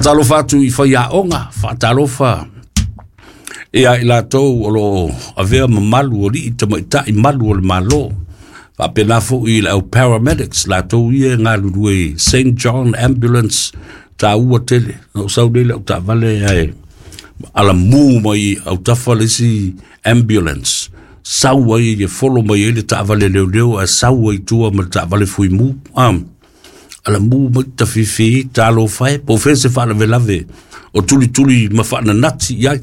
Faatalofa atu i faiaoga, faatalofa ia i latou o lo o avea mamalu o alii tamaitai malu o le Malo, faapena foi i le au paramedics, latou ia e galulue i St. John Ambulance, taua tele. Na ou sau nei i lau taavale ae alamu mai autafa le isi ambulance, sau ai e folo mai ai le taavale leoleo ae sau ai i tua ma le taavale fuimu. Alamu mai tafifi, talofa e, po o fea se faalavelave o tulituli ma faananati i ai.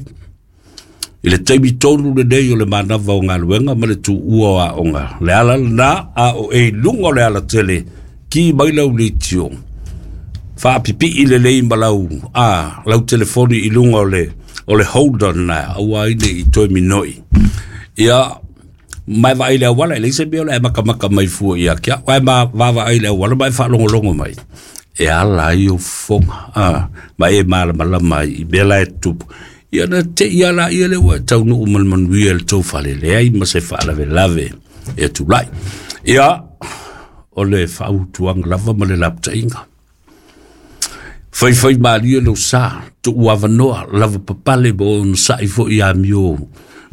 I le taimi tonu lenei o le manava o galuega ma le tuua o aoga, le ala lena a o e i luga o le alatele, ki mai lau leitio, faapipii lelei ma lau, lau telefoni i luga o le holder lena, aua ai ne i toe minoi. Ia, ma e vaai i le auala, e leai se mea o le a e makamaka mai fua ia te au, ae ma vaavaai i le auala ma e faalogologo mai, e ala ai ou fofoga, ma e malamalama ai i mea la e tutupu. Ia na te i ala ia le ua e taunuu ma le manuia i le tou fale, leai ma se faalavelave e tulai. Ia, o le faautuaga lava ma le lapataiga. Faifai malie lou sa, tuu avanoa, lava papale ma onosai foi i amio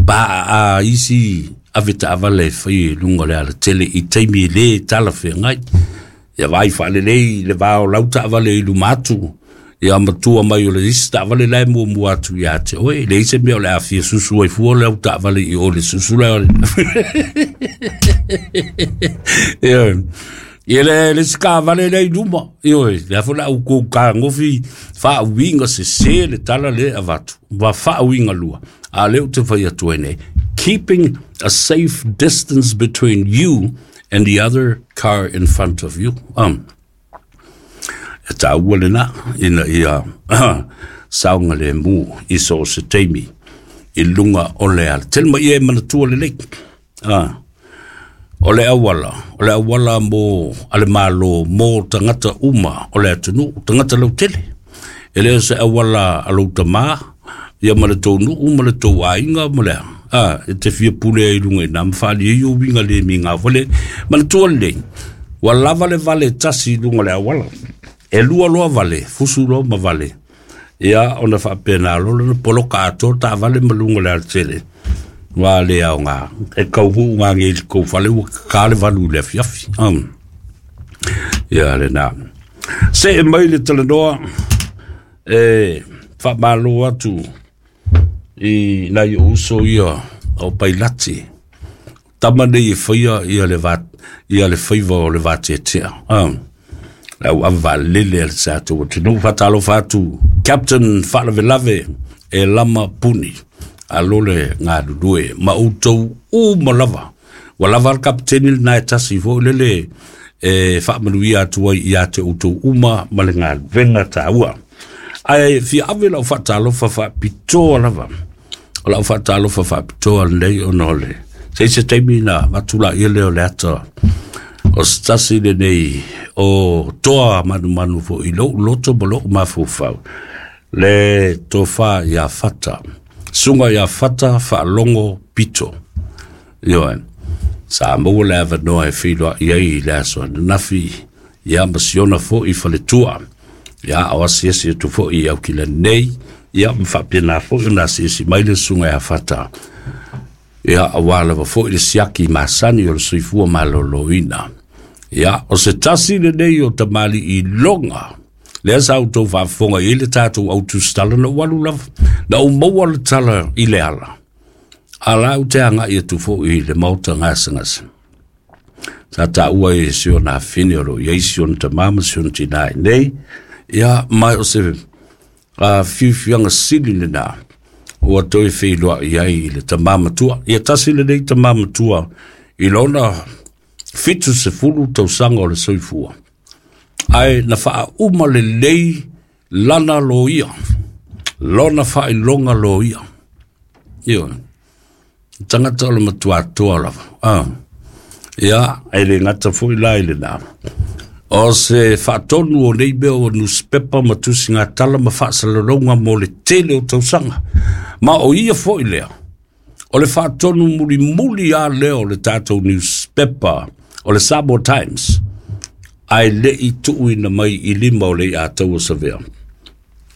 pa a isi ave taavale e fai i luga o le alatele i taimi e le talafeagai. Ia vaai faalelei le va o lau taavale i luma atu, ia matua mai o le isi taavale la e muamua atu ia te oe, e leai se mea o le a fia susu ai fua lau taavale i o le susu lea. Ia, ia le isi taavale lea i luma, ioe, lea foi la au kou kagofi faauiga sese le tala lea e avatu, ma faauiga lua, a lea ou te fai atu ai nei, keeping a safe distance between you and the other car in front of you. E taua lena ina ia saogalemu i so o se taimi i luga o le ala. Tele mai ia e manatua lelei. O le auala, o le auala mo a le Malo mo tagata uma o le atunuu, tagata lautele. E le o se auala a lou tamā, ia ma le tou nuu ma le tou aiga ma le a, e te fia pule ai i luga i ina ma faaalia ai ou uiga le migao fale. Manatua lelei, ua lava le vale tasi i luga o le auala. E lua loa vale, fusu loa ma vale. Ia, ona faapena loa lea ona poloka atoa taavale ma luga o le alatele. Ua le aoga, e kauhuu ngage i le tou fale ua kaka le valu i le afiafi. Ia lena. See mai le talanoa e faamalo atu i nai ou uso ia o Pailati. Tama nei e faia ia le va, ia le faiva o le vateatea. Le au ave vaalele a le tatou atunuu. Faatalofa atu Captain Faalavelave e Lama Puni. Alo le galulue ma outou uma lava. Ua lava le kapiteni lena e tasi foi lele e faamanuia atu ai ia te outou uma ma le galuega taua. Ae fia ave lau faatalofa faapitoa lava. O lau faatalofa faapitoa lenei ona o le se se taimi na avatu laia lea o le ata o se tasi lenei o toa manumanu foi i lou loto ma lou mafaufau le tofa ia Fata, susuga ia Fata Faalogo Pito. Ioe, sa maua le avanoa e feiloai ai i le aso ananafi, ia ma siona foi faletua, ia o asiasi atu foi i Aukilani nei, ia ma faapena foi ona asiasi mai le susuga ia Fata, ia aua lava foi le siaki masani o le soifua maloloina. Ia, o se tasi lenei o tamalii loga, lea sa outou faafofoga i ai le tatou autusitala na ou alu lava, na ou maua le tala i le ala, a la ou te agai atu foi i le maota gasegase. Sa taua e si ona afine o lo o i ai si ona tamā ma si ona tinā i nei, ia ma o se fiufiaga sili lena ua toe feiloai ai i le tamā matua. Ia tasi lenei tamā matua i lona 70 tausaga o le soifua, ae na faauma lelei lana loia, lona faailoga loia. Ioe, tagata o le matuatoa lava. Ia, e le gata foi la i lena. O se faatonu o nei mea o newspaper ma tusigatala ma faasalalauga mo le tele o tausaga. Ma o ia foi lea, o le faatonu mulimuli lava lea o le tatou newspaper o le Samoa Times, ae le i tuuina mai i lima o le Iataua Savea.